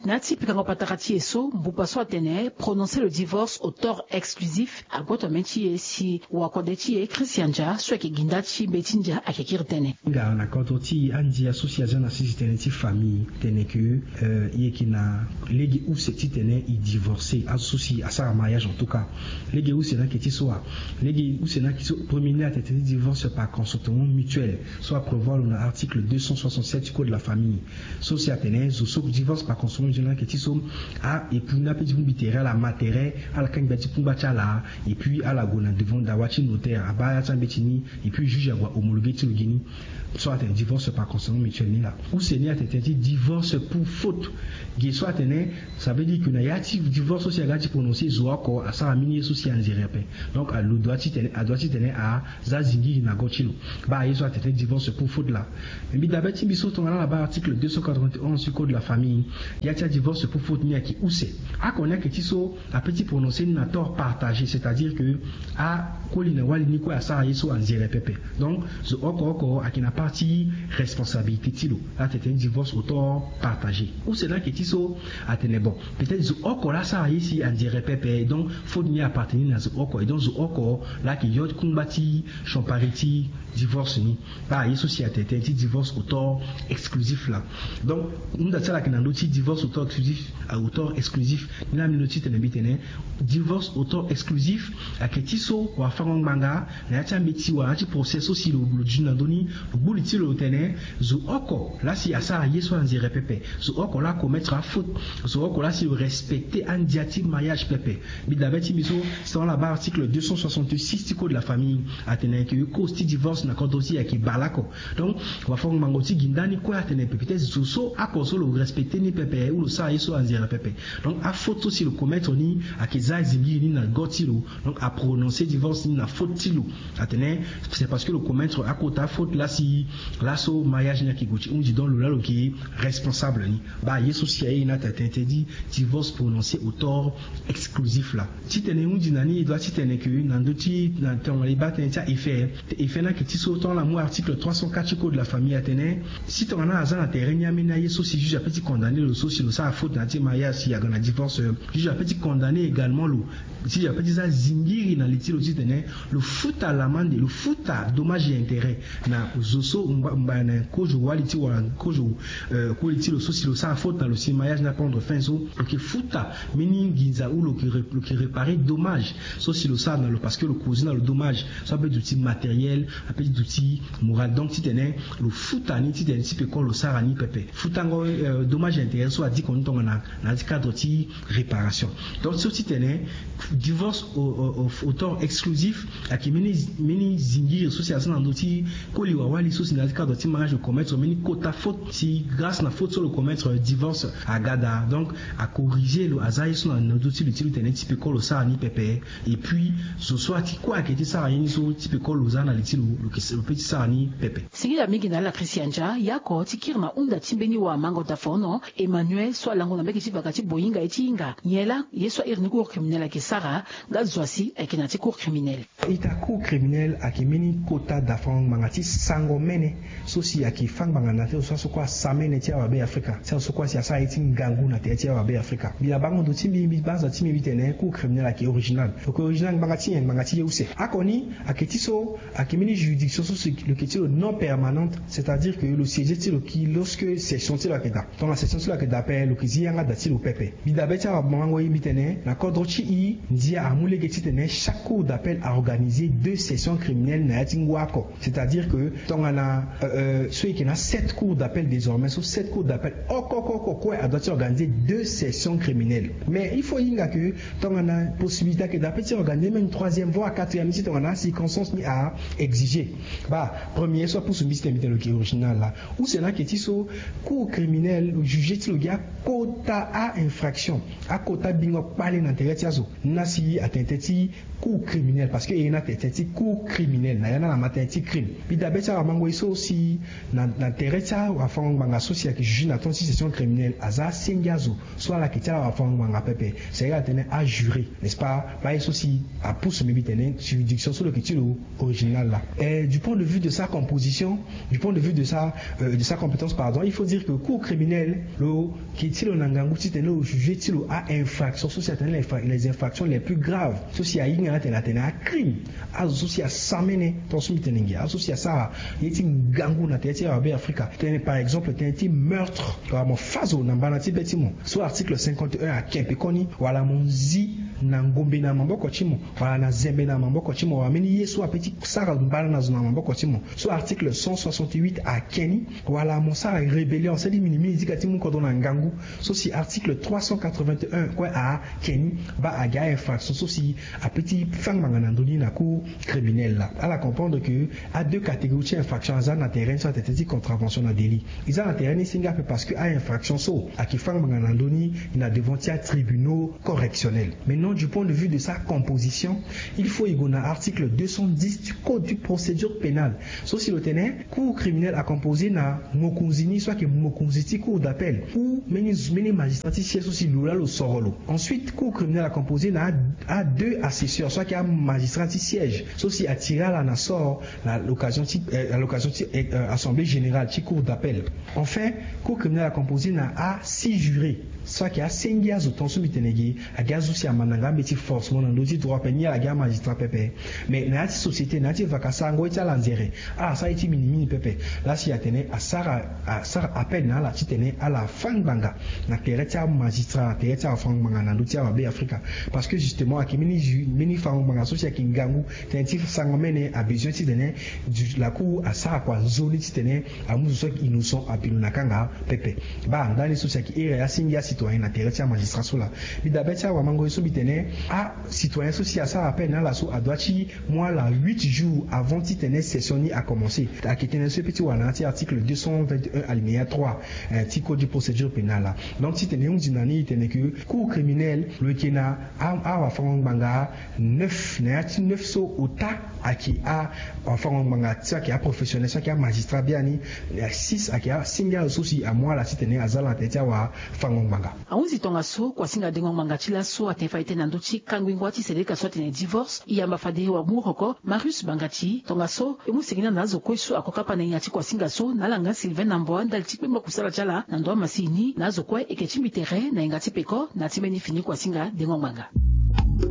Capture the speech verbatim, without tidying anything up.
Na ya ti pikango patara ti e so, mbuba so atene prononcer le divorce auteur exclusif, agboto ambeni ti e si wakode ti e Christian Dia so ayeke gi nda ti mbeti ndia ayeke kiri tënë. Nga na kodro ti andia so si aza na sisi tënë ti famille tene ke e yeke na lege use titene e divorcer azo so si asara mariage en tout cas. Lege use na yeke ti so wa lege use na yeke ti so premier ni atene ti divorce par consentement mutuel so aprévoir lo na article deux cent soixante-sept code de la famille. So si atene zo so divorce par consentement mutuel na yeke ti so a époux ni ape ti mu bi tere ala ma tere ala kangbi ya ti kungba ti ala. Et puis ala gue na devant dawa ti notaire abaa ya ti ambeti ni. Et puis juge ague ahomologuer ti lo gi ni. So atene divorce par consentement mutuel ni laa. Use ni atene ti divorce pour faute. Ge so atene, ça veut dire que na ya ti divorce so si aga ti prononcer zo oko asara mbeni ye so si anzere ape. Donc alo doit ti tene adoit ti tene aza zingiri na go ti lo. Baa ye so atene ti divorce pour faute laa. Mbi dabe ti mbi so tongana ala baa article deux cent quatre-vingt-onze ti code de la famille. Ya ti adivorce pour faute ni ayeke use. Oko ni ayeke ti so ape ti prononcer ni na tort partagé, c'est-à-dire que akoli na wali ni kue asara ye so anzere pepe. Donc zo oko oko ayeke na part ti responsabilité ti lo. Atene ti divorce auteur partagé. Use ni ayeke ti so atene bon, peut-être zo oko laa asara ye si anzere pepe, donc faute ni appartenir na zo oko. Et donc zo oko laa ayeke yo kungba ti champari ti divorce ni. Baa ye so si atene ti divorce auteur exclusif laa. Donc hunda ti ala ayeke na ndö ti divorce auteur exclusif. Auteur exclusif ni laa mbi londo ti tene mbi tene divorce auteur exclusif ayeke ti so wafango-ngbanga na ya ti ambeti wala na ya ti procès so si lo duti na ndö ni, lo gbu li ti lo lo tene zo oko laa si asara ye so anzere pepe, zo oko laa acommettre afaute, zo oko laa si lo respecter andia ti mariage pepe. Mbi dabe ti mbi so, si tongana ala baa article deux cent soixante-six ti code de la famille, atene ayeke cause ti divorce na kodro ti e ayeke baleoko. Donc wafango-ngbanga ti gi nda ni kue atene pe peut-être zo so oko so lo respecter ni pepe ou lo sara ye so anzere pepe. Donc afaute so si lo commettre ni ayeke za zingiri ni na go ti lo. Donc aprononcer divorce ni na faute ti lo. Atene c'est parce que lo commettre akota faute laa si laso mariage ni ayeke gue ti hundi, donc lo laa lo yeke responsable ni. Baa ye so si aye ni atene ti divorce prononcé auteur exclusif laa. Titene e hundi na ni e doit titene ke na ndö ti na tongana e baa tënë ti a effet. Effet ni ayeke ti so tongana amu article trois cent quatre ti code de la famille atene si tongana aza na tere ni ambeni aye so si juge ape ti condamner lo so si lo sara faute na ya ti mariage si aga na divorce, juge ape ti condamner également lo. Juge ape ti za zingiri na li ti lo titene lo futa l'amende, lo futa dommage et intérêt na zo so mba mba na kozo wali ti wala kozo koli ti lo so si lo sara faute na lo si mariage ni apendre fin so lo yeke futa mbeni nginza ou lo yeke réparer dommage so si lo sara na lo parce que lo causer na lo dommage so ape duti matériel, ape ti duti moral. Donc titene lo futa ni titene ti peko lo sara ni pepe. Futango dommage et intérêt so adiko ni tongana na ya ti cadre ti réparation. Donc so titene divorce auteur exclusif ayeke mbeni zingiri so si aza na ndö ti koli wawali so si na ya ti cadre ti mariage lo commettre mbeni kota faute si grâce na faute so lo commettre divorce aga daa. Donc acorriger lo, aza ye so na ndö ti lo ti lo tene ti peko lo sara ni pepe. Et puis zo so ati kue ayeke ti sara ye ni so ti peko lo za na li ti lo, lo yeke lo pe ti sara ni pepe. Singila mingi na ala Christian Dia yako ti kiri na hunda ti mbeni wamango dafono Emmanuel so alango na mbage ti vaka ti boyinga ye ti hinga nyen laa ye so airi ni cour criminel ayeke sara. Nga zo asi ayeke na ya ti cour criminel. Ita cour criminel ayeke mbeni kota dafango ngbanga ti sango mene so si ayeke fâ ngbanga na ya ti azo so kue asamene ti awabe afrika ti azo so kue asi asara ye ti ngangu na tere ti awabe afrika. Mbi na bango ndo ti mbi mbi baa aza ti mbi mbi tene cour criminel ayeke original. Lo yeke original ngbanga ti nyen? Ngbanga ti ye use. Oko ni ayeke ti so ayeke mbeni juridiction so si lo yeke ti lo non permanente, c'est-à-dire que lo siéger ti lo ki lorsque session ti lo ayeke daa. Tongana session ti lo ayeke daa ape lo yeke zi yanga da ti lo pepe. Mbi dabe ti awamango e mbi tene na kodro ti e ndia amu lege titene chaque cour d'appel a organiser deux sessions criminelles na ya ti ngu oko. C'est-à-dire que tongana so e yeke na sept cours d'appel désormais so sept cours d'appel oko oko oko kue adoit ti organiser deux sessions criminelles. Mais il faut e hinga ke tongana possibilité ayeke daa ape ti organiser même troisième voire quatrième ni si tongana circonstance ni a exiger. Baa premier so apusu mbi titene mbi tene lo yeke original laa. Use ni ayeke ti so cour criminel lo juger ti lo gi akota a-infraction, akota bingo kpale na tere ti azo. Ni laa si atene tënë ti cour criminel parce que e ye ni atene tënë ti cour criminel na ya ni ala ma tënë ti crime. Mbi dabe ti awamango e so si na tere ti awafango ngbanga so si ayeke juger na temps ti session criminel aza asenge azo so ala yeke ti ala wafango ngbanga pepe. C'est-à-dire atene ajuré, n'est-ce pas? Baa ye so si apusu mbi mbi tene juridiction so lo yeke ti lo original laa. Du point de vue de sa composition, du point de vue de sa, de sa compétence, pardon, il faut dire que cour criminelle lo ke ti lo na ngangu titene lo juger ti lo a infraction so si atene les infractions les plus graves, so si ahinga na tene atene a crime, azo so si asamene, tant so mbi tene nge azo so si asara ye ti ngangu na tere ti awabe afrika, tene par exemple tene ti meurtre wala mo fazo na mbana ti be ti mo so article cinquante et un ake mpe koni, wala mo nzi na ngombe na maboko ti mo, wala na zembe na maboko ti mo, wala mbeni ye so ape ti sara mbala na zo na maboko ti mo so article cent soixante-huit ake ni, wala mo sara rébellion seli minimini dika ti mu kodro na ngangu so si article trois cent quatre-vingt-un kue ake ni. Baa agi a infraction so si ape ti fâ ngbanga na ndoni na cour criminelle laa ala comprendre ke a deux catégories ti infraction aza na terrain so atete ti contravention na délit. Eza na terrain ni singa ape parce que a infraction so ake fâ ngbanga na ndoni na devant ti a tribunaux correctionnels. Maintenant du point de vue de sa composition, il faut i go na article deux cent dix du code du procédure pénale so si lo tene cour criminelle a composer na mokonzi ni so ake mokonzi ti cour d'appel ou mbeni magistrat ti siège so si lo laa lo soro lo. Ensuite cour criminelle a composer na a deux assesseurs so ake amagistrat ti siège so si atire ala na sort na l'occasion ti assemblée générale ti cour d'appel. Enfin cour criminelle a composer na a six jurés so ake asengi azo tant so mbi tene gi agi azo si amandanga ambe ti forcement na ndö ti droit peine ni ala agi amagistrat pepe. Mais na ya ti société na ya ti vaka sarango ye ti ala nzere ala sara ye ti minimini pepe. Laa si atene asara asara appel na ala titene ala fâ ngbanga na tere ti amagistrat na tere ti afa ngbanga na ndö ti awabe afrika. Parce que justement ake mbeni ju mbeni fango ngbanga so si ake ngangu tene ti sango mene abesoin titene la cour asara kua nzoni titene amu zo so ake innocent abino na kanga pepe. Baa ndani so si ake ere asingi acitoyen na tere ti amagistrat so laa. Mbi dabe ti awamango ye so mbi tene acitoyen so si asara appel na ala so adoit ti mu ala huit jours avant titene session ni acommencer. Ake tene so e pe ti wara na ya ti article deux cent vingt et un alinéa trois ti code du procédure pénale laa. Donc titene e hunzi na ni e tene ke cour criminelle lo yeke na awafango ngbanga neuf na ya ti neuf so ota ake awafango ngbanga so ake aprofessionnel so ake amagistrat biani. Six ake asinga azo so si amu ala titene aza ala na tere ti awafango ngbanga. Ahunzi tongaso kuasinga dengo ngbanga ti laso atene fade tene na ndö ti kanguingua ti seleka so atene divorce e yamba fade wamuroko marius bangati tongaso e mu sengena na azo kue so ako kapa na nginga ti kuasinga so na ala nga sylvain na mboa ndali ti kpengba kusala ti ala na ndo amasini na azo kue eke ti mbi tere na yanga ti peko na ya ti mbeni fini kuasinga dengo ngbanga.